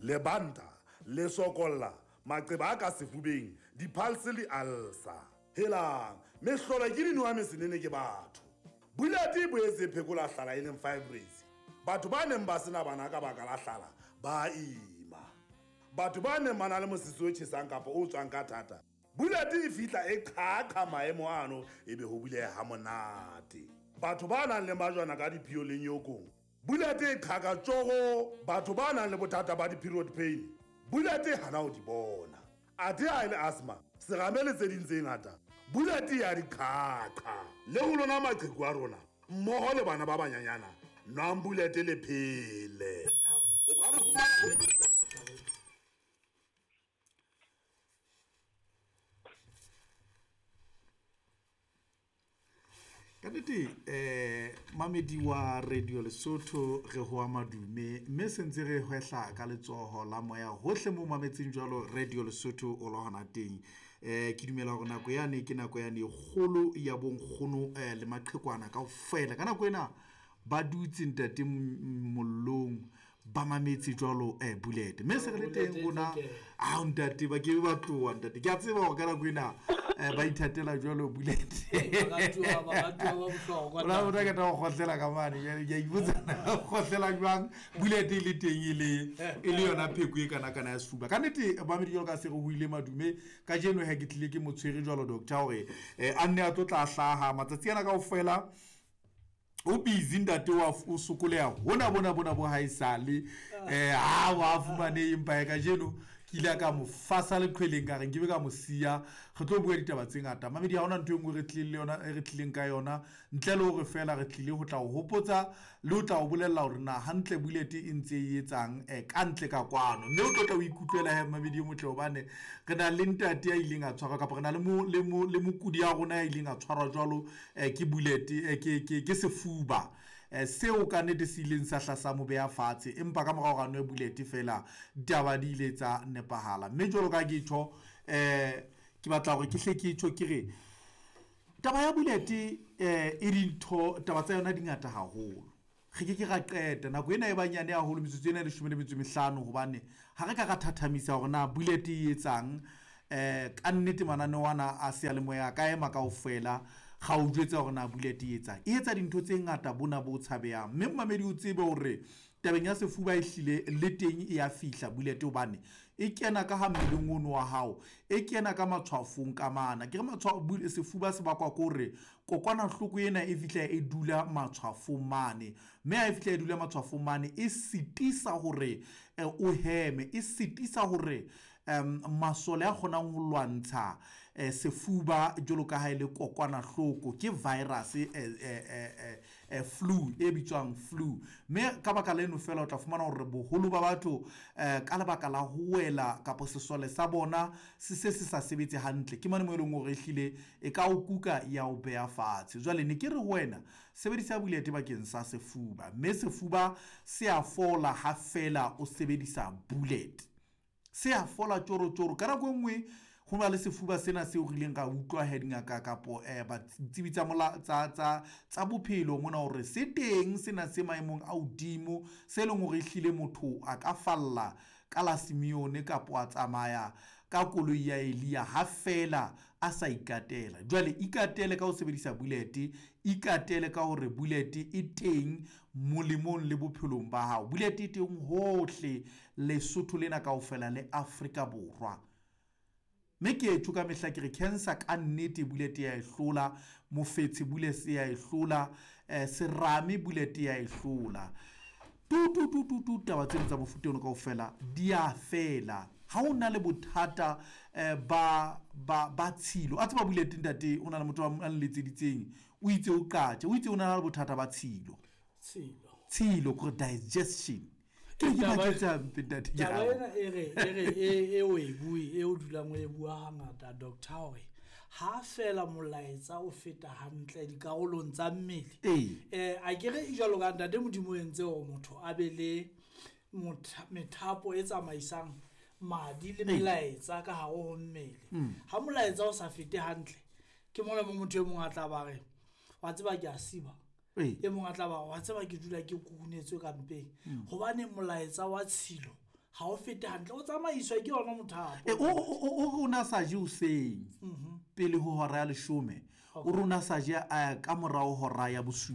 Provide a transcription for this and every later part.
Lebanta, lesokolla, maqeba a ka sefubeng, diphalse le alsa. Helang, mehlolo ke dinowa mesenene ke batho. Bullet e boetse e phekola hlala e leng fibroids. Batho ba neng ba sena bana ka baka la hlala ba ima. Batho ba neng ba na le mosese o tjhesang kapa o tswang ka thata, Bullet e fihla e qhaqha maemo ano ebe ho buleha ha monate. Batho ba nang le majwana ka diphio le nyokong, Bullet e qhaka tjoro. Batho ba nang le bothata ba di-period pain, Bullet e hana ho di bona. Athe ha e le asthma, serame le tse ding tse ngata, Bullet ya di qhaqha. Le ho lona maqheku a rona, mmoho le bana ba banyanyana, nwang Bullet le phele. O ka re fumana Ka nnete um mamedi wa Radio Lesotho re hoa madume mme sentse re hwehla ka letsoho la moya hohle mo mametseng jwalo Radio Lesotho o lo hona teng. Ke dumela hore nako yane ke nako yane e kgolo ya bonkgono le maqhekwana kaofela. Ka nako ena ba dutse ntate mollong ba mametse jwalo Bullet. Mme se re le teng rona ao ntate ba ke ba tloha ntate. Ke a tseba hore ka nako ena ba ithatela jwalo Bullet. Ona o ka go kgotlela ka mane jwale ke a ipotsa na o kgotlela jwang Bullet e le teng e le yona pheko e kana kana ya sefuba. Ka nnete mamedi jwalo ka se re hoile madume kajeno ha ke tlile ke motshwere jwalo doctor hore a nne a tlo tla hlaha matsatsi ana kaofela. O busy ntate wa o sokoleha hona bona bona bo haesale ha wa fumane empa ya kajeno ke ile ka mo fasa leqhweleng ka re nkebe ka mo siya. Re tlo bua ditaba tse ngata mamedi, ha hona ntho e nngwe re tlileng le yona e re tlileng ka yona ntle le hore fela re tlile ho tla o hopotsa le ho tla o bolella hore na hantle Bullet e ntse e etsang ka ntle ka kwano. Mme o tlo tla o ikutlwela he mamedi e motle hobane re na le ntate ya ileng a tshwarwa kapa re na le mokudi ya rona ya ileng a tshwarwa jwalo ke Bullet ke sefuba seo ka nnete se ileng sa hla sa mo beha fatshe, empa ka morao ga nwe Bullet fela ditaba di ile tsa nepahala. Mme jwalo ka ke tjho ke batla hore ke hle ke tjho ke re taba ya Bullet e dintho taba tsa yona di ngata haholo. Re ke ke ra qeta nako ena e banyane haholo metsotso ena e 15 hobane ha re ka ra thathamisa hore na Bullet e etsang ka nnete mananeo ana a seyalemoya a ka ema kaofela ga o jwetsa hore na Bullet e etsang. E etsa dintho tse ngata bona bo tshabehang. Mme momamedi o tsebe hore tabeng ya sefuba e hlile le teng e ya fihla Bullet hobane e kena ka ha mmeleng ono wa hao, e kena ka matshwafong ka mana. Ke re matshwao sefuba se bakwa ke hore kokwanahloko ena e fihla e dula matshwafong mane, mme ha e fihla e dula matshwafong mane e sitisa hore o heme, e sitisa hore masole a kgonang ho lwantsha sefuba jwalo ka ha e le kokwanahloko ke virus flu e bitswang flu. Mme ka baka leno fela o tla fumana hore boholo ba batho ka lebaka la ho wela kapa sesole sa bona se se se sa sebetse hantle, ke mane mo e leng hore ehlile e ka o kuka ya o beha fatshe. Jwale ne ke re ho wena sebedisa Bullet bakeng sa sefuba, mme sefuba se a fola ha fela o sebedisa Bullet. Se a fola tjoro tjoro. Ka nako e nngwe ho na le sefuba sena seo re ileng ra utlwa he dingaka kapo ditsebi tsa mola tsa tsa tsa bophelo mona hore se teng sena se maemong a hodimo se leng hore ehlile motho a ka falla ka la Simeone kapo a tsamaya ka koloi ya Elia ha fela a sa ikatela. Jwale ikatele ka ho sebedisa Bullet, ikatele ka hore Bullet e teng molemong le bophelong ba hao. Bullet e teng hohle Lesotho lena kaofela le Afrika Borwa. Mme ke etho ka mehla ke re cancer ka nnete Bullet ya e hlola, mofetshe Bullet ya e hlola, serame Bullet ya e hlola. Tu tu tu tu tu taba tseno tsa mofuta ono kaofela di a fela. Ha o na le bothata ba tshilo, a tseba Bullet ntate o na le motho a nletseditseng, o itse o qatje, o itse o na le bothata ba tshilo. Tshilo. Tshilo kore digestion. Ke ke baketsa mpe ntate ke Taba ena e re e re e e o e bue e o dulang o e bua hangata doctor hore ha fela molaetsa o feta hantle dikarolong tsa mmele. A ke re jwalo ka ntate Modimo o entse hore motho a be le methapo e tsamaisang madi le melaetsa ka hare ho mmele. Ha molaetsa o sa fete hantle ke mona mo motho e mong a tla ba re wa tseba ke a siba. E mong a tla ba wa tseba ke dula ke kukunetswe ka mpeng. Hobane molaetsa wa tshilo ha o fete hantle, o tsamaiswa ke yona mothapo. O re o na sa je hoseng pele ho hora ya 10, o re o na sa je ka morao hora ya 7.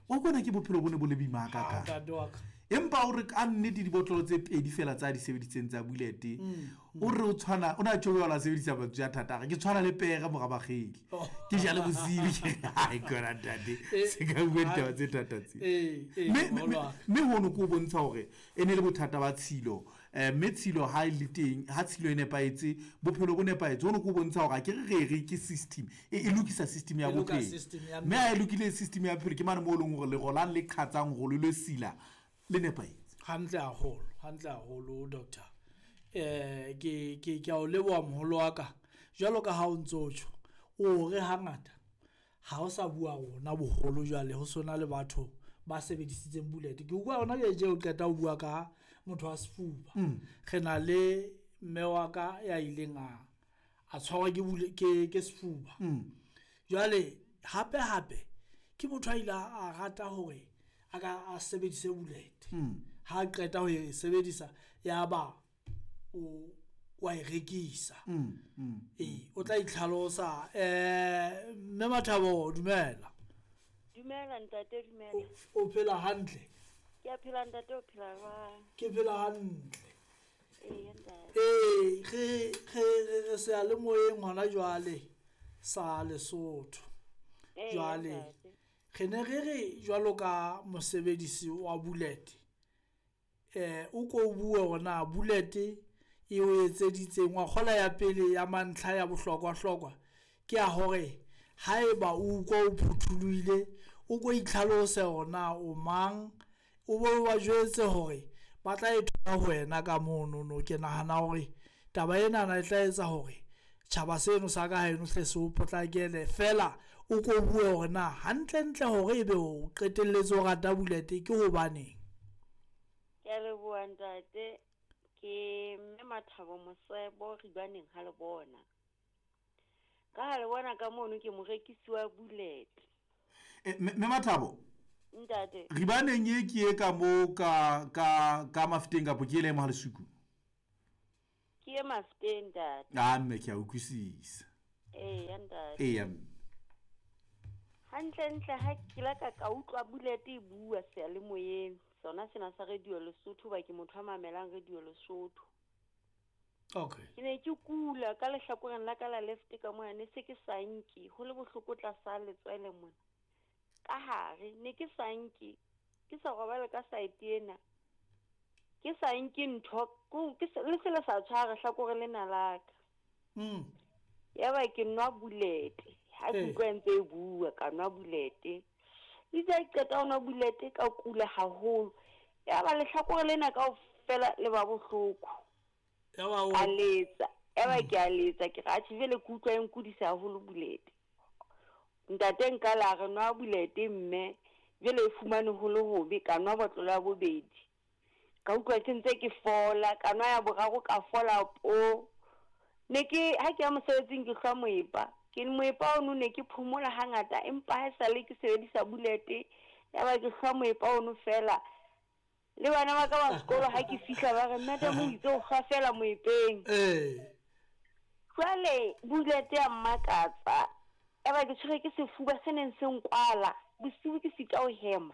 Wa kona ke bophelo bo ne bo le boima hakakang. Empa o re ka nnete dibotlolo tse 2 fela tsa di sebeditseng tsa Bullet, o re o tshwana o na tjho la sebedisa mantswe a thata, ke tshwana le pere mora bakgele. Ke jale bosiu ke ai kona ntate, se ka bua ditaba tse thata tse. Mme hono ke o bontsha hore e ne le bothata ba tshilo, mme tshilo ha e le teng, ha tshilo e nepahetse, bophelo bo nepahetse. Hono ke o bontsha hore ke re ke system e lokisa system ya bophelo, mme ha e lokile system ya bophelo ke mane mo leng hore le rolang le qhatsang hore le sila le nepahetse. Hantle haholo, hantle haholo doctor. Ke a o leboha moholo wa ka. Jwalo ka ha o ntso tjho, o re hangata ha o sa bua rona boholo jwale ho sona le batho ba sebedisitseng Bullet. Ke utlwa hona jwale o qeta ho bua ka motho wa sefuba. Re na le mme wa ka ya ileng a tshwarwa ke sefuba. Jwale hape hape ke motho a ile a rata hore a ka a sebedise Bullet. Ha qeta ho e sebedisa ya ba o wa e rekisa. O tla itlhalosa. Mme Mathabo, dumela. Dumela ntate, dumela. O phela hantle? Ke a phela ntate, o phela jwang? Ke phela hantle. Ee ntate. Re seyalemoyeng hona jwale sa Lesotho. Jwale re ne re re jwalo ka mosebedisi wa Bullet, o ko bue hore Bullet e o etseditseng wa kgola ya pele ya mantlha ya bohlokwa-hlokwa ke ya hore haeba o utlwa o phuthulohile, o ko itlhalose hore na o mang, o bo ba jwetse hore ba tla e thola ho wena ka monono. Ke nahana hore taba enana e tla etsa hore tjhaba seno sa ka haeno hle se o potlakele. Feela o ko bue hore na hantlentle hore ebe o qetelletse o rata Bullet ke hobaneng. Ke a leboha ntate. Ke mme Mathabo Mosebo Ribaneng ha le bona. Ka ha le bona ka mono ke morekisi wa Bullet. Mme Mathabo, ntate, Ribaneng e ke e ka mo ka Mafeteng kapo ke ele mo ha Lesuku? Ke e Mafeteng ntate. Ah mme ke a utlwisisa. Ee ntate. Ee. Hantle ntle ha ke la ka utlwa Bullet e bua seyalemoyeng sona sena sa Radio Lesotho, ba ke motho a mamelang Radio Lesotho. Okay. Ke ne ke kula ka lehlakoreng la ka la left ka mona, ne se ke sa nke, ho le bohloko tlasa letswele mona. Ka hare ne ke sa nke, ke sa robale ka side ena. Ke sa nke ntho, ke le se le sa tshware hlakore lena la ka. Ya ba ke nwa Bullet, ha ke utlwa ntse e bua ka nwa Bullet. Itse ha ke qeta ho nwa Bullet ka kula haholo. Ya ba lehlakore lena kaofela le ba bohloko. A letsa, ya ba ke a letsa, ke re atjhe jwale ke utlwa e nkudisa haholo Bullet. Ntate nka la re nwa Bullet mme jwale e fumane ho le hobe, ka nwa botlolo ya bobedi. Ka utlwa ke ntse ke fola, ka nwa ya boraro ka fola po. Ne ke ha ke ya mosebetsing ke hlwa moepa. Ke moepa ono ne ke phomola hangata, empa ha sale ke sebedisa Bullet ya ba ke hlwa moepa ono fela. Le bana ba ka ba sekolo ha ke fihla ba re madam o itse o hlwa fela moepeng. Jwale Bullet ya mmakatsa. Ya ba ke tshwere ke sefuba se neng se nkwala, bosiu ke sita ho hema.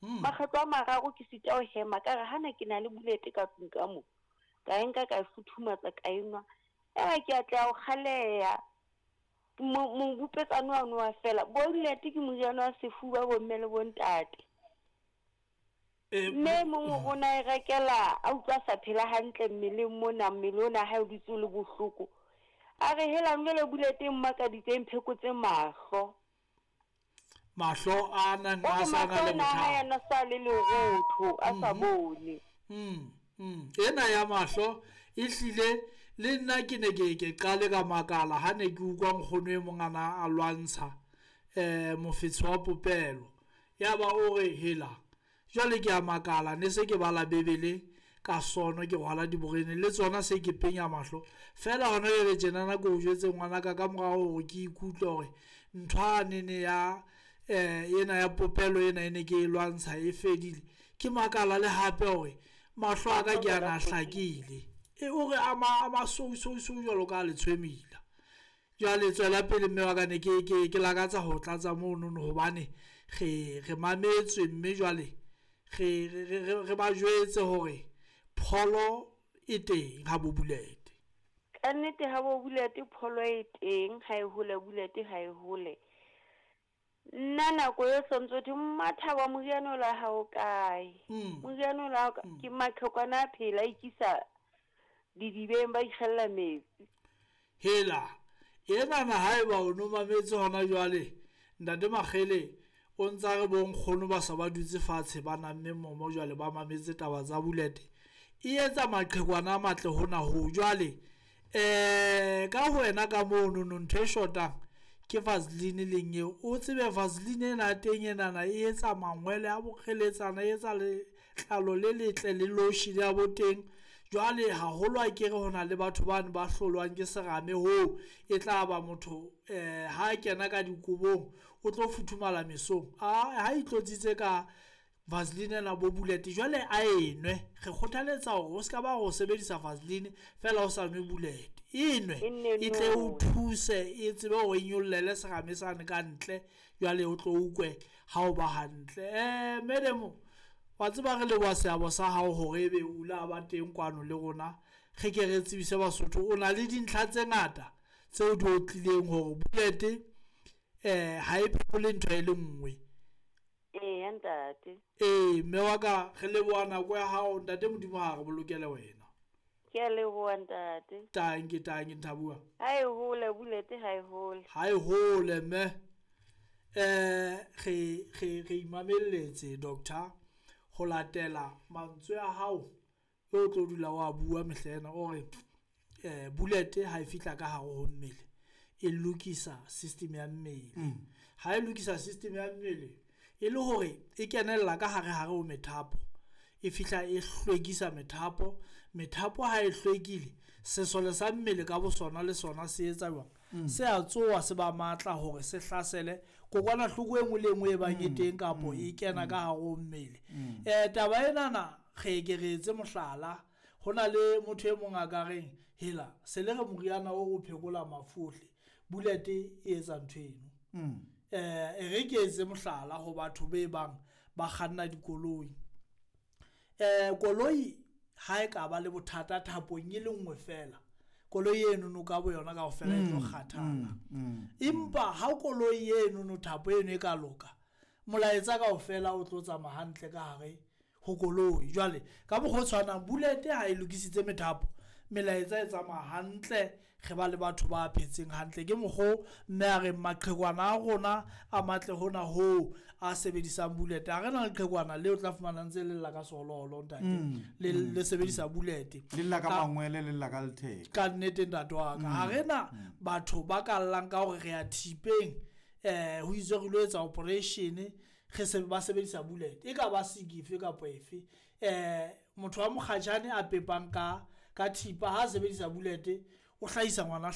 Makgetlo a mararo ke sita ho hema, ka re hana ke na le Bullet ka tlung ka mo. Ka e nka ka e futhumatsa ka e nwa. Ya ba ke atleha ho kgaleha. Mobupetsane wa nwa fela. Bullet ke moriana wa sefuba bo mme le bo ntate. Mme mong o na e rekela a utlwa sa phela hantle mmeleng mona, mmele ona ha o dutse o le bohloko. A re hela jwale Bullet e mmakaditseng phekotse mahlo. Mahlo a nang a sa na le bothata. A sa le lerotho, a sa bone. Ena ya mahlo e hlile le nna ke ne ke qale ka makala ha ne ke utlwa nkgono e mong ana a lwantsha mofetshe wa popelo. Ya ba o re hela jwale ke a makala, ne se ke bala Bebele ka sono ke rwala diborene le tsona se ke penya mahlo. Feela hona jwale tjenana ke o jwetse ngwanaka ka morao hore ke ikutlwe hore ntho a nene ya ena ya popelo ena e ne ke e lwantsha e fedile. Ke makala le hape hore Mahlo a ka ke ana a hlakile. E o re a masousou jwalo ka letshwemila. Jwale tswela pele mme wa ka, ne ke lakatsa ho tlatsa monono hobane re mametswe, mme jwale re ba jwetse hore pholo e teng ha bo bulete. Ka nnete ha bo bulete pholo e teng, ha e hole bulete ha e hole. Nna nako e sontso thwe Mmathabo moriana o la hao kae? Moriana o la hao ke maqhekwana a phela a ikisa didibeng ba ikgella metsi. Hela enana haeba o no mametse hona jwale ntate Makgele o ntsa re bonkgono ba sa ba dutse fatshe ba namme momo jwale ba mametse taba tsa bulete e etsa maqhekwana a matle hona ho jwale. Ka ho wena ka mono no ntho e shotang ke Vaseline leng eo o tsebe Vaseline ena teng enana e etsa mangwele a bokgeletsana, e etsa letlalo le letle le lotion ya bo teng. Jwale haholo a kere hona le batho bane ba hlolwang ke serame hoo e tla ba motho ha kena ka dikobong o tlo futhumala mesong. Ha itlotsitse ka Vaseline ena bo bulete jwale a enwe. Re kgothaletsa hore o ska ba ho sebedisa Vaseline fela o sa nwe bulete. Enwe e tle o thuse e tsebe hore e nyollele serame sane ka ntle, jwale o tlo ukwe ha o ba hantle. Madam wa tseba re leboha seabo sa hao hore ebe o la ba teng kwano le rona. Re ke re tsebise Basotho o na le dintlha tse ngata tseo di otlileng hore bulete ha e phekole ntho e le nngwe. Eya ntate. Mme wa ka re leboha nako ya hao ntate, Modimo ha re bolokele wena. Ke a leboha ntate. Tanki tanki Nthabua. Ha e hole bulete ha e hole. Ha e hole mme. Re imamelletse doctor ho latela mantswe a hao o tlo dula wa bua mehlena o re bulete ha e fihla ka hare ho mmele e lokisa system ya mmele. Ha e lokisa system ya mmele e le hore e kenella ka hare hare ho methapo, e fihla e hlwekisa methapo. Methapo ha e hlwekile sesole sa mmele ka bosona le sona se etsa jwang? Se a tsoha se ba matla hore se hlasele kokwanahloko e nngwe le nngwe e bang e teng kapo e kena ka hare ho mmele. Taba enana re ke re etse mohlala, ho na le motho e mong a ka reng hela se le re moriana o phekola mafu ohle, bulete e etsa ntho eno. E re ke etse mohlala ho batho be bang ba kganna dikoloi. Koloi ha e ka ba le bothata thapong e le nngwe fela, koloi eno no ka bo yona kaofela e tlo kgathala. Empa ha koloi eno no thapo eno e ka loka, molaetsa kaofela o tlo tsamaya hantle ka hare ho koloi. Jwale ka mokgwa o tshwanang bulete ha e lokisitse methapo, melaetsa e tsamaya hantle, re ba le batho ba phetseng hantle. Ke mokgo mme a reng maqhekwana a rona a matle hona hoo a sebedisang bulete. Ha re na leqhekwana leo tla fumana ntse le lla ka seholoholo ntate, le sebedisa bulete, le lla ka mangwele, le lla ka letheka. Ka nnete ntate wa ka, ha re na batho ba ka llang ka hore re ya thipeng, ho itswe re lo etsa operation, re se ba sebedisa bulete e ka ba sikife kapa efe. Motho wa mokgatjhane a pepang ka thipa ha sebedisa bulete o hlahisa ngwana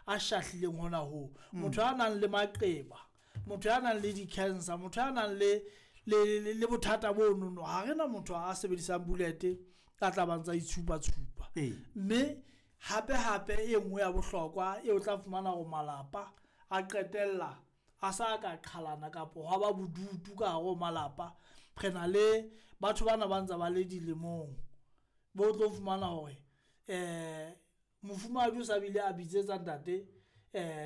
a shahlileng hona hoo. Motho a nang le maqeba, motho a nang le di-cancer, motho a nang le bothata bo nono, ha re na motho a sebedisang bulete a tla ba ntsa itshupa-tshupa. Mme hape hape e nngwe ya bohlokwa e o tla fumana hore malapa a qetella a sa ka qhalana kapo hwa ba bodutu ka hare ho malapa. Re na le batho bana ba ntse ba le dilemong bo tlo fumana hore mofumahadi o sa bile a bitsetsa ntate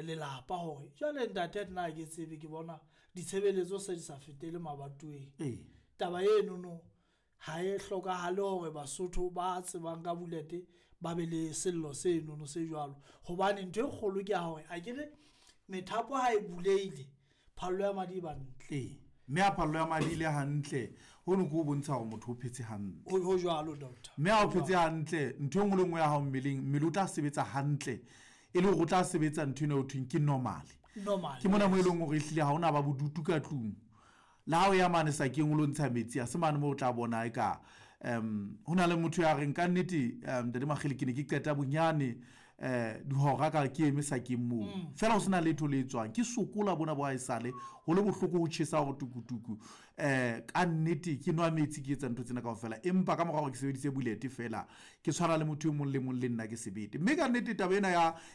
lelapa hore jwale ntate nna ha ke tsebe, ke bona ditshebeletso se di sa fetele mabatoweng. Taba eno no ha e hlokahale hore Basotho ba tsebang ka bulete ba be le sello seno no se jwalo, hobane ntho e kgolo ke ya hore akere methapo ha e buleile phallo ya madi e ba ntle. Mme ha phallo ya madi ile hantle, hono ke ho bontsha hore motho o phetse hantle. Ho jwalo doctor. Mme ha o phetse hantle, ntho e nngwe le nngwe ya hao mmeleng, mmele o tla sebetsa hantle, e le hore o tla sebetsa ntho ena ho thweng ke normal. Normal. Ke mona mo e leng hore ehlile ha hona ba bodutu ka tlung. Le ha o ya mane sakeng o lo ntsha metsi, ha se mane moo o tla bona eka ho na le motho ya reng ka nnete, ntate Makgele ke ne ke qeta bonyane Dihora ka ke eme sakeng moo fela ho sena letho le etswang, ke sokola bona bo haesale ho le bohloko, ho tjhesa hore tukutuku. Ka nnete ke nwa metsi, ke etsa ntho tsena kaofela, empa ka mora hore ke sebedise Bullet fela ke tshwana le motho e mong le mong, le nna ke sebete. Mme ka nnete taba ena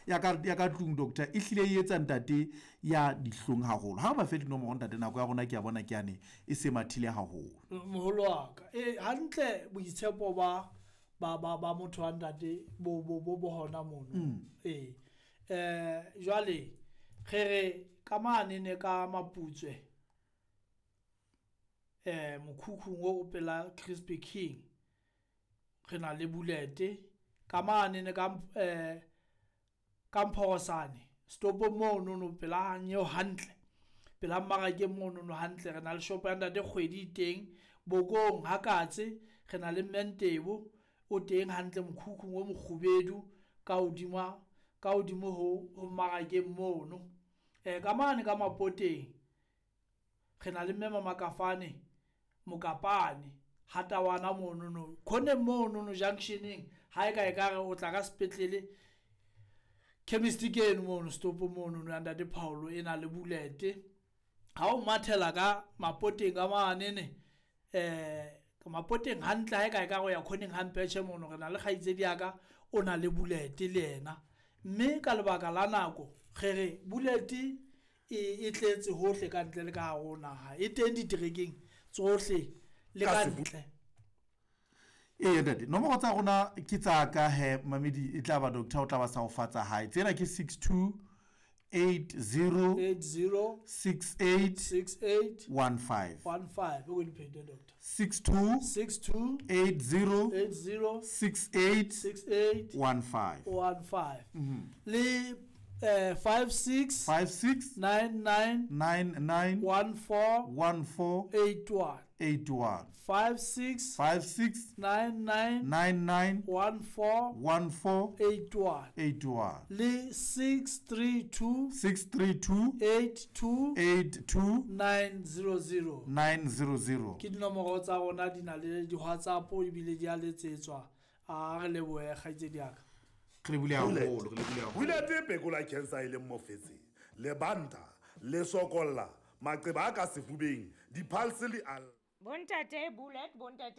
ya ka tlung, doctor, e hlile e etsa ntate ya dihlong haholo. Ha re ba fe dinomoro, ntate, nako ya rona ke a bona ke yane e se mathile haholo. Moholo wa ka, e hantle, boitshepo ba motho wa ntate bo hona mono. Ee, jwale re re ka mane ne ka Maputswe, mokhukhung o pela Crispy King, re na le Bullet. Ka mane ne ka Mphorosane stopong mono no, pela nyeo hantle, pela mmarakeng mono no hantle, re na le shop ya ntate Kgwedi e teng. Bokong Hakatse re na le Mmentebo o teng hantle mokhukhung o mokgubedu ka hodima, ka hodimo ho mmarakeng mono. Ka mane ka Mapoteng re na le mme Mamakafane Mokapane Hatawana mono no khoneng mono no junctioneng. Ha e ka e ka re o tla ka sepetlele, chemist ke eno mono stop mono no ya ntate Paulo e na le Bullet. Ha o mathela ka Mapoteng ka mane ne, Mapoteng hantle, ha e ka e ka go ya khoneng hampetjhe mono, re na le kgaitsedi ya ka o na le Bullet le yena. Mme ka lebaka la nako re re Bullet e tletse hohle ka ntle le ka hare ho naha, e teng diterekeng tsohle le ka ntle. Ee ntate, nomoro tsa rona ke tsa ka he mamedi, e tla ba doctor o tla ba sa o fatsa hae. Tsena ke 62 80 80 68 68 15. 15. O ko di phete, doctor. 62 62 80 80 68 68 15. 15 le 56 56 99 99 14 14 81. 81. 56 56 99 99 14 14 81 81 le 632 632 82 82 900. 900. Ke dinomoro tsa rona, di na le di-WhatsApp ebile di a letsetswa. A re lebohe, kgaitsedi ya ka. Re lebile haholo, re lebile haholo. Bullet phekola cancer e leng mofetshe, lebanta le sokolla, maqeba a ka sefubeng, di-pulse le al Bontate Bullet, bontate.